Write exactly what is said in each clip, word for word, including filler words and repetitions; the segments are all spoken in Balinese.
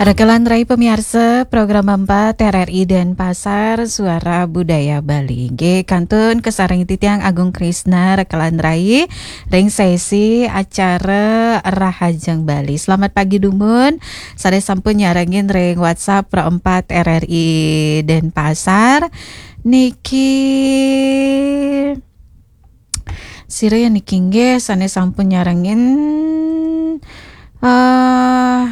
Rekelan rai pemiarsa program empat R R I Denpasar, Suara Budaya Bali. Nggih, kantun kasarengin titiang Agung Krisna, rekelan rai ring sesi acara Rahajeng Bali. Selamat pagi dumun, sane sampun nyarengin ring WhatsApp Pro empat R R I Denpasar. Niki sira ya niki nggih sane sampun nyarengin, eh,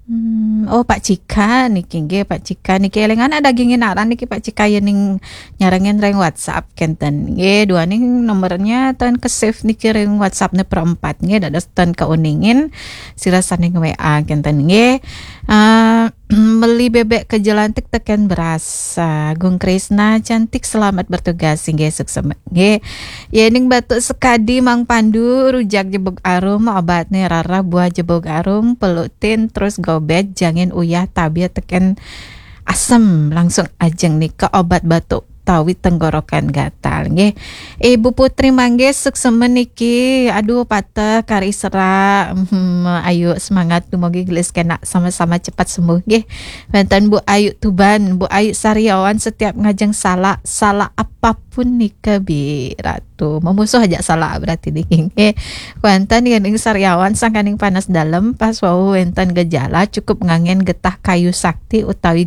hmm, oh, Pak Cika niki nggih, Pak Cika niki eling anak dagingin aran niki Pak Cika ya ning nyarengin ring WhatsApp kenten. Nggih, duaning nomornya ten ke-save niki ring WhatsApp ne perempat nggih, dados ten keuningin sira sane nge-W A kenten nggih. Eh, meli bebek ke jelantik teken beras. Ah, Gung Krisna cantik, selamat bertugas inggih, suksema nggih. Yening batuk sekadi Mang Pandu, rujak jebug arum, obatne rarah buah jebug arum, pelutin terus gobet, jangin uyah tabia teken asem, langsung ajeng nika obat batuk tawi tenggorokan gatal nggih. Ibu Putri Manggis, suksema niki. Aduh, pateh kari serak. Hmm, ayu semangat, dumogi gelis kena sama-sama cepat sembuh nggih. Wenten Bu Ayu Tuban, Bu Ayu Sariawan, setiap ngajeng salak, salak apapun nika Bi Ratu. Memusuh aja salak berarti niki nggih. Wenten yening Sariawan sangkaning panas dalem, pas wau wenten gejala cukup ngangen getah kayu sakti utawi